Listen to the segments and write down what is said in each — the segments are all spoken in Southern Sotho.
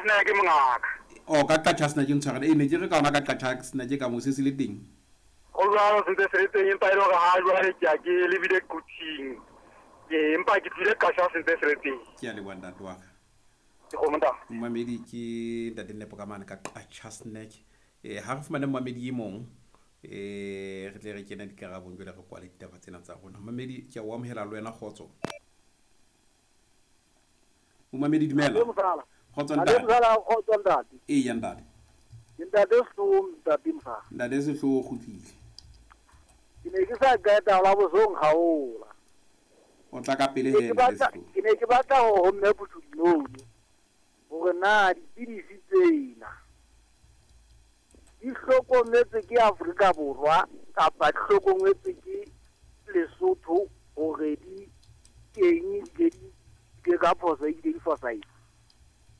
Qacha's Nek mongaka. O ka Qacha's Nek ntshwarele. E ne ke re ka ona ka Qacha's Nek ka mo se se le teng. Go jwalo se ntse se le teng empa e le hore ha jwale ke a ke lebile Quthing. Ke empa ke tlile Qacha's se ntse se le teng. Ke a leboha ntate wa ka. Ke kgomo ntate. Momamedi ke ntate Nepo ka mane ka Qacha's Nek. Ha re fumane momamedi e mong re tle re kene dikarabong jwale re kwale ditaba tsena tsa rona. Momamedi ke a o amohela le wena kgotso. Momamedi dumela. Kgotso ntate. Kgotso ntate. Eya ntate. Ke ntate Sehloho ntate Mosala. Ntate Sehloho o kgutlile. Ke ne ke sa qeta la bosong haola. O tla ka pele he ntate Sehloho. Ke ne ke batla ho mme Putsudinone hore na dipidisi tsena di hlokometse ke Afrika Borwa kapa di hlokometse ke Lesotho hore di teng di ke ka phoso e di fosahetse.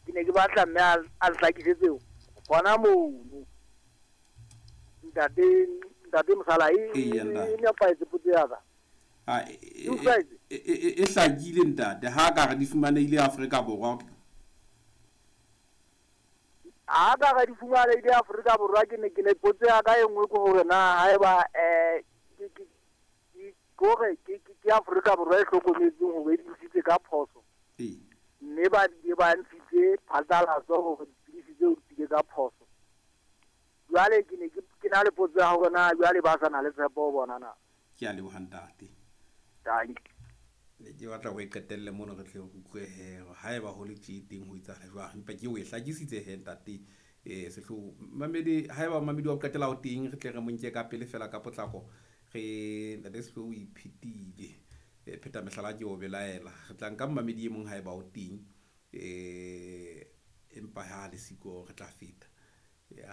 Ke ne ke batla mme a nhlakisetse hona mono. Ntate Mosala e nepahetse potso ya ka. E hlakile ntate ha ka re di fumanehile Afrika Borwa. Ha ka re di fumanehile Afrika Borwa ke ne ke ne potso ya ka e nngwe ke hore na haeba ke ke Afrika Borwa e hlokometseng hore e di ka phoso. Mme ba di ba ntshitse phatlalatso hore dipidisi tseo di tswile ka phoso. Jwale ke ne ke na le potso ya hore na jwale ba sa na le tshepo ho bona na. Ke a leboha ntate. Thank you. Ne ke batla ho e qetelle mono re tle re utlwe he haeba ho le tje teng ho etsahala jwang empa ke o e hlakisitse he ntate Sehloho. Mamedi haeba mamedi wa qetela ho teng re tle re mo nke ka pele fela ka potlako re ntate Sehloho o iphetile. Pheta mehlala ke o belaela. Re tla nka mamedi e mong haeba o teng empa ha le siko re tla feta.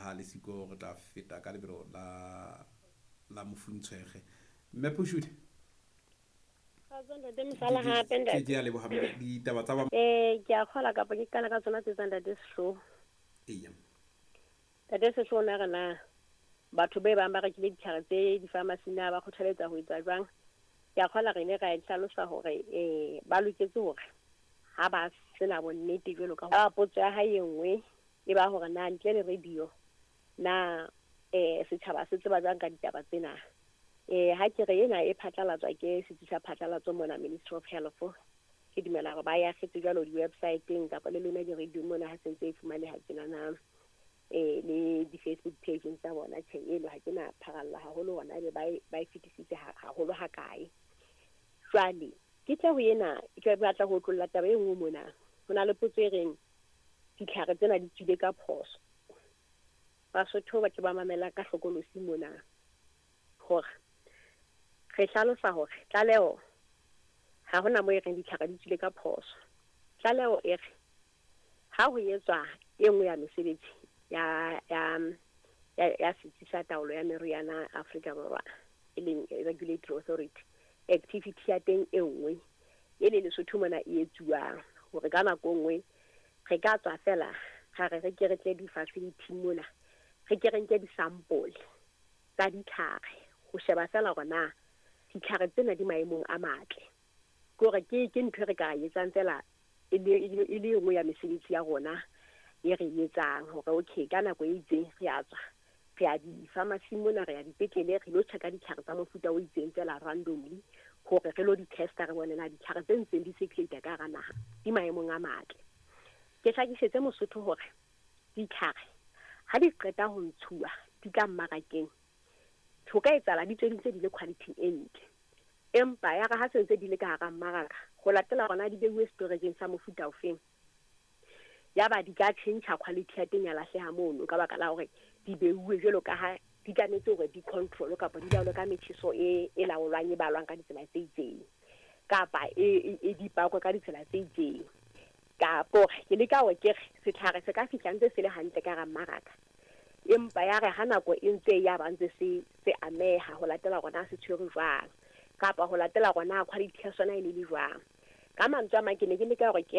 Ha le siko re tla feta ka lebelo la mofuntshwege. Mme Phushudi. Ke a leboha ditaba tsa ba ke a kgola kapa ke qala ka tsona tse tsa ntate Sehloho. Eya. Ntate Sehloho na re na batho ba bang ba rekile ditlhare tse di-pharmacy na ba kgothaletsa ho etsa jwang? Ke a kgola re ile ra e hlalosa hore ba loketse hore ha ba sena bonnete jwalo ka ha potso ya hae e nngwe e ba hore na ntle le radio na setjhaba se tseba jwang ka ditaba tsena. Ha ke re ena e phatlalatswa ke setsi sa phatlalatso mona Ministry of Health. Ke dumela hore ba ya kgetse jwalo di-websiteng kapa le lona di-radio mona ha sentse e fumaneha tjena na le di-Facebook page tsa bona. Tjhe eno ha ke na pharalla haholo hona ebe ba e fetisitse haholo ha kae. Jwale ke tle ho ena ke batla ho tlolla taba e nngwe mona. Ho na le potso e reng ditlhare tsena di tswile ka phoso. Basotho ba ke ba mamela ka hlokolosi mona hore re hlalosa hore tlaleho ha hona mo e reng ditlhare di tswile ka phoso. Tlaleho e re ha ho etswa e nngwe ya mesebetsi ya setsi sa taolo ya meriana Afrika Borwa e leng Regulatory Authority, activity ya teng e nngwe e le Lesotho mona e etsuwang hore ka nako nngwe re ka tswa fela ra re re ke re tle di-facility mona re ke re nke di-sample tsa ditlhare ho sheba fela hore na ditlhare tsena di maemong a matle. Ke hore ke ntho e re ka etsang fela e le nngwe ya mesebetsi ya rona e re etsang hore okay ka nako e itseng re a tswa re ya di-pharmacy mona re ya dipetlele re lo check-a ditlhare tsa mofuta o itseng fela randomly hore re lo di-testa re bone na ditlhare tse ntseng di circulate ka hara naha di maemong a matle. Ke hlakisetse Mosotho hore ditlhare ha di qeta ho ntshuwa di tla mmarakeng ho ka etsahala di tswe di ntse di le quality e ntle, empa ya re ha se ntse di le ka hara mmaraka ho latela hona di beuwe storage sa mofuta ofeng ya ba di ka tjhentjha quality ya teng ya lahleha mono ka baka la hore di beuwe jwalo ka ha di tlametse hore di control kapa di laolwe ka metjheso e laolwang e balwang ka ditsela tse itseng kapa e di pakwe ka ditsela tse itseng. Kapo ke leka hore ke re setlhare se ka fihla ntse se le hantle ka hara mmaraka empa ya re ha nako e ntse ya ba ntse se ameha ho latela hore na se tshwere jwang kapa ho latela hore na quality ya sona e le jwang. Ka mantswe a mang ke ne ke leka hore ke